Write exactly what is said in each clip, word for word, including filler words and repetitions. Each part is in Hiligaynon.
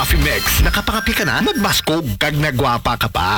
Coffee Mix. Nakapangapi ka na, nagmaskog, kag nagwapa ka pa.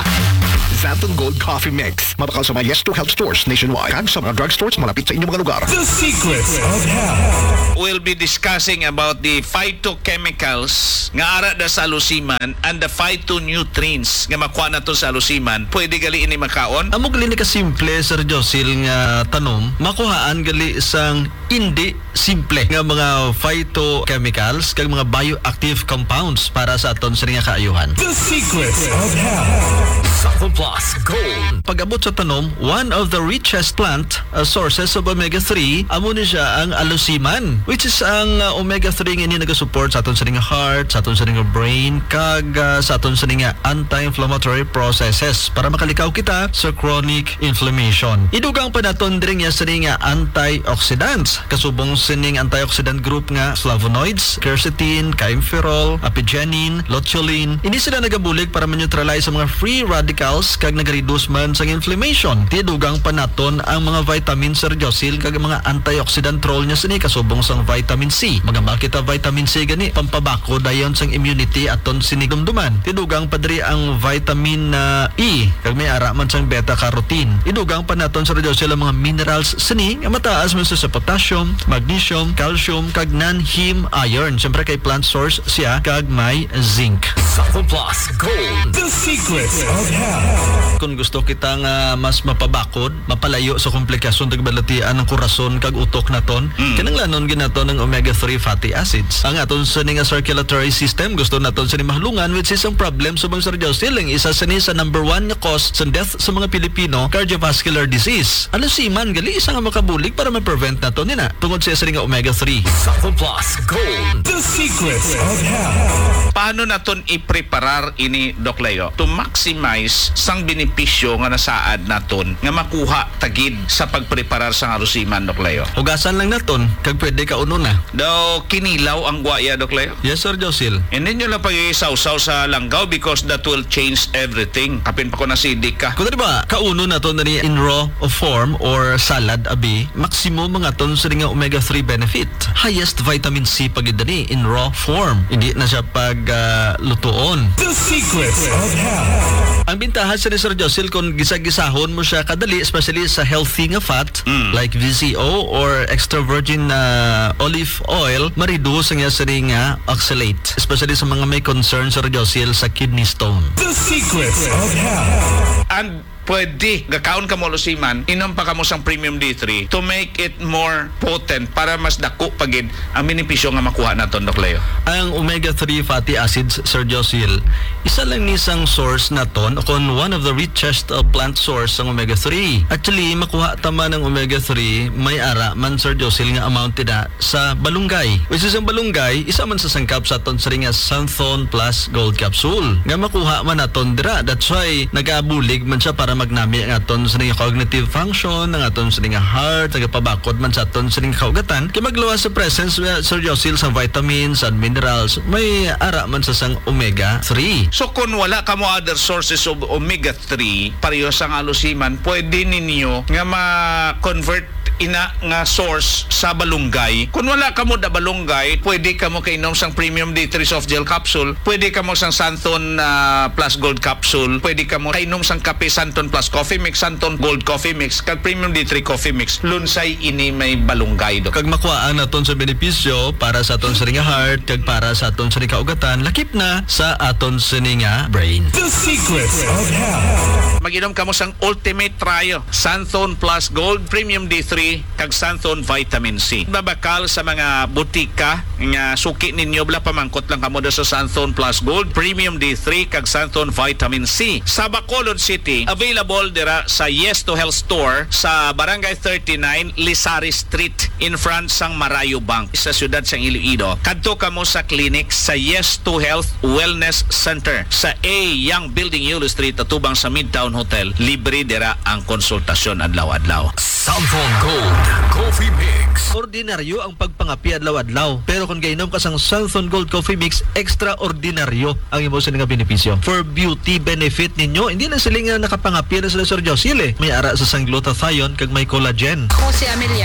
Xanthone Gold Coffee Mix. Mabakal sa mga Yes to Health stores nationwide kag sa mga drugstores malapit sa inyong mga lugar. The Secrets of Health. We'll be discussing about the phytochemicals nga ara da sa alusiman and the phytonutrients nga makuha nato sa alusiman. Pwede gali ini makaon? Amo gali ni kasimple, Sir Josil, nga tanom, makuhaan gali sang indi simple nga mga phytochemicals kag mga bioactive compounds para sa aton sini nga kaayuhan. The Secrets of Health. Sa Plus Gold. Pag-abot sa tanom, one of the richest plant, uh, sources of omega three, amo ni siya ang alusiman, which is ang, uh, omega three nga ini nagasupport sa aton sini nga heart, sa aton sini nga brain, kag, uh, sa aton sini nga anti-inflammatory processes para makalikaw kita sa chronic inflammation. Idugang pa naton diri nga sini nga antioxidants, kasubong sining antioxidant group nga flavonoids, quercetin, chimeferol, apigenin, luteolin. Ini sila nagabulig para ma-neutralize sa mga free radicals kag nagareduce man sang inflammation. Ti dugang pa naton ang mga vitamin, Sir Josil, kag mga antioxidant role niya sini, kasubong sang vitamin C. Mga makita vitamin C gani, pampabakod dayon sang immunity aton sini dumduman. Ti dugang pa diri ang vitamin, ah, E, kag may ara man sang beta carotene. Idugang pa naton, Sir Josil, ang mga minerals sini nga mataas man sa, sa potassium, magnesium, calcium, kag non-heme iron. Siyempre kay plant source siya kag may zinc. Sa Plus Gold. The Secrets of Health. Kung gusto kita nga mas mapabakod, mapalayo sa komplikasyon kag balatian ng korason kag utok naton, Mm. kinahanglanon gid naton ang omega three fatty acids. Ang aton sini nga circulatory system, gusto naton sini mahalungan, which is ang problem sa mga, Sir Josil, ang isa sini sa number one nga cause sa death sa mga Pilipino, cardiovascular disease. Alusiman gali isa nga makabulig para ma-prevent naton nina tungod sa sini nga omega three. Sa Plus Gold. The Secrets of Health. Paano naton i-preparar ini, Doc Leo, to maximize sang benepisyo nga nasaad naton nga makuha ta gid sa pagpreparar sang alusiman, Doc Leo? Hugasan lang naton, kag pwede kaunon na. Daw kinilaw ang guaya, Doc Leo? Yes, Sir Josil. Hindi nyo lang pag-isawsaw sa langgaw because that will change everything. Kapin pa ko na sidik ka. Kung di ba, kaunon naton na ni in raw form or salad, abi, maximum ang aton sini nga omega three benefit. Highest vitamin C pa gid ni in raw form. Hindi na siya pag, ah, lutuon. The Secrets of Health. Ang bintaha sini, Sir Josil, kung gisa-gisahon mo siya kadali, especially sa healthy nga fat, Mm. like V C O or extra virgin, ah, olive oil, ma-reduce ang iya sini nga oxalate, especially sa mga may concern, Sir Josil, sa kidney stone. The Secrets of Health. And pwede, gakaon kamo alusiman, inom pa kamo sang Premium D three to make it more potent para mas dako pa gid ang benepisyo nga makuha naton, Doc Leo. Ang omega three fatty acids, Sir Josil, isa lang ni sang source naton, o kon one of the richest, uh, plant source sang omega three. Actually, makuha ta man ang omega three, may ara man, Sir Josil, nga amount dira sa balunggay. Which is ang balunggay, isa man sa sangkap sa aton sini nga Xanthone Plus Gold Capsule nga makuha man naton dira. That's why nagabulig man siya para magnami ang aton sini nga cognitive function, ang aton sini nga heart, nagapabakod man sa aton sini nga kaugatan. Kay magluwas sa presence, uh, Sir Josil, sa vitamins and minerals, may ara man sa sang omega three. So, kung wala kamo other sources of omega three, pareho sang alusiman, pwede ninyo nga ma-convert ina nga source sa balunggay. Kung wala kamo da balunggay, pwede kamo kainom sang Premium D three soft gel capsule, pwede kamo sang Xanthone, ah, Plus Gold capsule, pwede kamo kainom sang kape Xanthone Plus Coffee Mix, Xanthone Gold Coffee Mix, kag Premium D three Coffee Mix. Lunsay ini may balunggay, Doc. Kag makuhaan naton sa benepisyo para sa aton sini nga heart, kag para sa aton sini kaugatan, lakip na sa aton sini nga brain. The Secrets of Health. Mag-inom kamo sang Ultimate Trio, Xanthone Plus Gold, Premium D three, kag Xanthone Vitamin C. Mabakal sa mga butika nga suki ninyo, bala, pamangkot lang kamo da sa Xanthone Plus Gold, Premium D three, kag Xanthone Vitamin C. Sa Bacolod City, available dira sa Yes to Health Store sa Barangay thirty-nine, Lisari Street, in front sang Marayo Bank, sa siyudad sang Iloilo. Kadto kamo sa clinic sa Yes to Health Wellness Center sa A Young Building, Yulo Street, atubang sa Midtown Hotel. Libre dira ang konsultasyon adlaw-adlaw. Xanthone Gold Coffee Mix. Ordinaryo ang pagpangapi adlaw-adlaw, pero kung gainom ka sang Xanthone Gold Coffee Mix, extraordinaryo ang imo sini nga benepisyo. For beauty benefit ninyo, hindi lang sila nga nakapangapi na sila, Sir Josil, eh. May ara sa sang glutathione kag may collagen. Ako si Amelia.